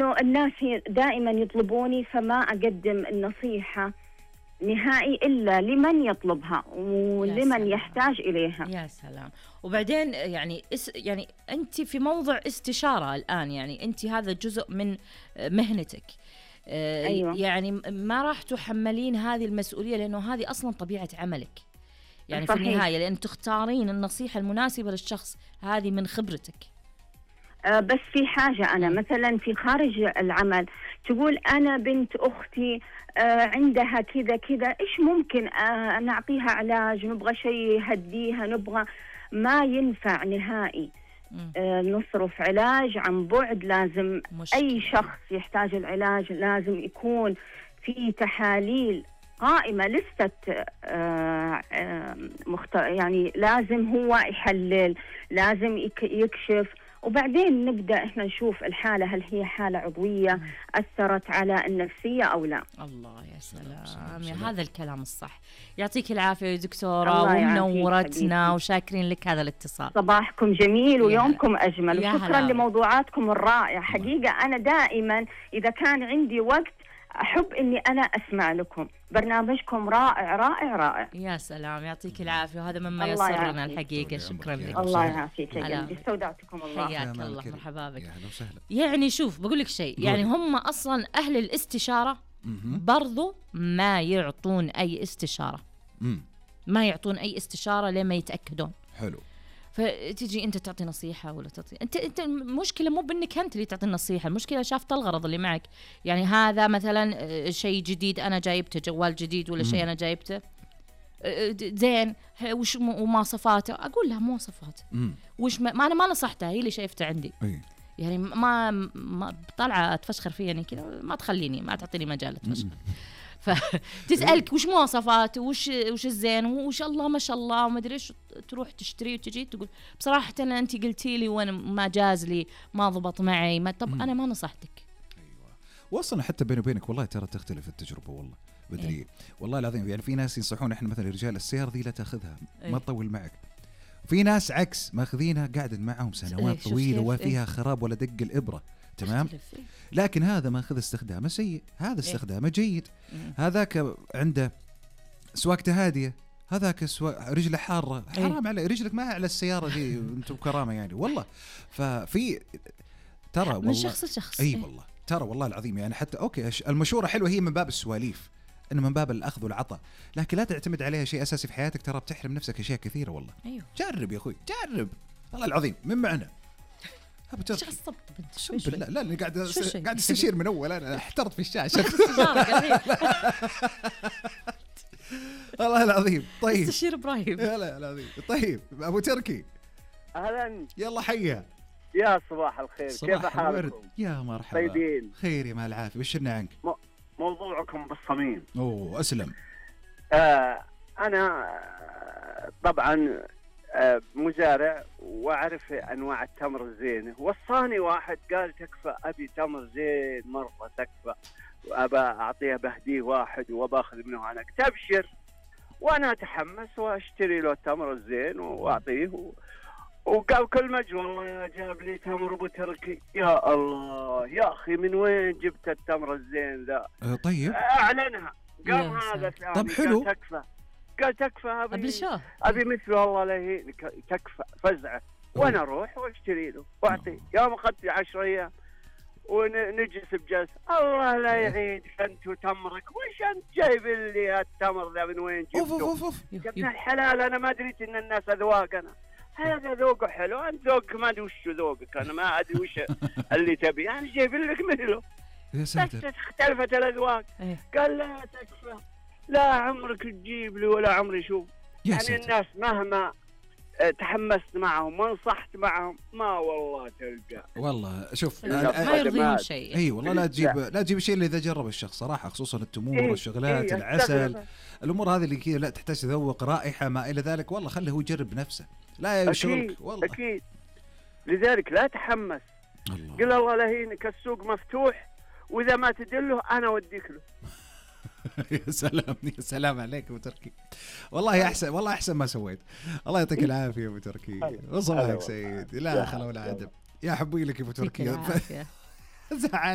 إنه الناس دائما يطلبوني، فما أقدم النصيحة نهائي إلا لمن يطلبها ولمن يحتاج إليها. يا سلام. وبعدين يعني أنت في موضع استشارة الآن، يعني أنت هذا جزء من مهنتك. أيوة. يعني ما راح تحملين هذه المسؤولية، لأنه هذه أصلا طبيعة عملك يعني صحيح. في النهاية، لأن تختارين النصيحة المناسبة للشخص، هذه من خبرتك. بس في حاجة، أنا مثلا في خارج العمل تقول أنا بنت أختي عندها كذا كذا، إيش ممكن نعطيها علاج، نبغى شيء يهديها، نبغى، ما ينفع نهائي. نصرف علاج عن بعد، لازم مشكلة. أي شخص يحتاج العلاج لازم يكون في تحاليل قائمة، لستة يعني لازم هو يحلل، لازم يكشف، وبعدين نبدأ إحنا نشوف الحالة هل هي حالة عضوية أثرت على النفسية أو لا. الله يا سلام، يا هذا الكلام الصح. يعطيك العافية يا دكتورة، ومنورتنا وشاكرين لك هذا الاتصال. صباحكم جميل ويومكم أجمل، وشكرا لموضوعاتكم الرائعة. حقيقة أنا دائما إذا كان عندي وقت أحب إني أنا أسمع لكم، برنامجكم رائع رائع رائع. يا سلام، يعطيك العافية، وهذا مما يسرنا الحقيقة. شكرا لك. الله يعافيك يا جميل، استودعتكم الله. حياك الله، مرحبا بك. يعني شوف بقول لك شيء، يعني هم أصلا أهل الاستشارة برضو ما يعطون أي استشارة، ما يعطون أي استشارة لما يتأكدون. حلو. فتيجي انت تعطي نصيحه ولا تعطي انت المشكله مو بانك انت اللي تعطي النصيحه، المشكله شافت الغرض اللي معك. يعني هذا مثلا شيء جديد انا جايبته، جوال جديد ولا شيء انا جايبته زين، وش مواصفاته؟ اقول لها مواصفات وش ما انا ما نصحتها، هي اللي شايفته عندي. يعني ما طالعه تفشخر فيني كذا، ما تخليني، ما تعطيني مجال تفشخر. فتسألك وش مواصفات وش الزين وش الله ما شاء الله وما ادري ايش، تروح تشتري وتجي تقول بصراحه انت قلتي لي وانا ما جاز لي، ما ضبط معي، ما طب انا ما نصحتك. ايوه. واصلا حتى بيني وبينك والله ترى تختلف التجربه والله بدري. والله العظيم يعني في ناس ينصحون احنا مثلا رجال السيارة ذي لا تاخذها، ما تطول معك. في ناس عكس ماخذينها قاعد معهم سنوات طويله وفيها خراب ولا دق الابره، تمام. لكن هذا ما أخذ استخدامه سيء، هذا استخدامه جيد. هذاك عنده سواقته هادية، هذاك رجله حارة، حرام على رجلك، ما على السيارة دي انتم كرامة يعني والله. ففي ترى والله من شخص لشخص. اي والله ترى والله العظيم يعني حتى اوكي المشورة حلوة هي من باب السواليف، انه من باب الاخذ والعطاء، لكن لا تعتمد عليها شيء اساسي في حياتك، ترى بتحرم نفسك اشياء كثيرة والله. أيوه. جرب يا اخوي، جرب والله العظيم من معنا. شو الصبط بنت؟ لا لا قاعد استشير من اول، انا احترت في الشاشه. والله العظيم. طيب استشير ابراهيم. لا العظيم. طيب ابو تركي، اهلا، يلا حيا. يا صباح الخير، كيف حالكم؟ يا مرحبا. طيبين؟ خير يا مال العافيه، بشرنا عنك. موضوعكم بالصميم. اوه اسلم. انا طبعا مزارع واعرف انواع التمر الزينه، وصاني واحد قال تكفى، ابي تمر زين مره تكفى، وابى اعطيه بهديه واحد وباخذ منه انا. تبشر، وانا اتحمس واشتري له التمر الزين واعطيه، وقال كل مجد والله جاب لي تمر ابو تركي. يا الله يا اخي، من وين جبت التمر الزين ذا؟ طيب اعلنها، قال هذا ثاني. طب حلو. قال تكفى ابي مثله والله لا يهينك، تكفى فزعه. وانا اروح واشتري له واعطيه. يوم اخذت 10 ايام ونجلس بجلسه، الله لا يعينك انت وتمرك، وش انت جايب لي التمر ذا من وين جبته؟ يا ابن الحلال، انا ما دريت ان الناس اذواق، انا هذا ذوقه حلو، انت ذوقك ما ادري وش ذوقك، انا ما ادري وش اللي تبي، انا جايب لك مثله. بس اختلفت الاذواق. قال لا تكفى، لا عمرك تجيب لي ولا عمري شوف. يعني الناس مهما تحمست معهم ونصحت معهم ما والله تلقى. والله شوف ما يرضيهم شيء. اي والله لا تجيب الشيء اللي اذا جرب الشخص صراحه، خصوصا التمور والشغلات العسل، الامور هذه اللي كذا لا تحتاج تذوق رائحه ما الى ذلك، والله خله هو يجرب بنفسه، لا يشغلك والله. اكيد. لذلك لا تحمس، قل الله لا يهينك، السوق مفتوح، واذا ما تدله انا اوديك له. يا سلام يا سلام عليك ابو تركي، والله احسن، والله احسن ما سويت. الله يعطيك العافيه يا ابو تركي، وصباحك سعيد. لا خلا ولا عدم، يا حبي لك يا ابو تركي. زعل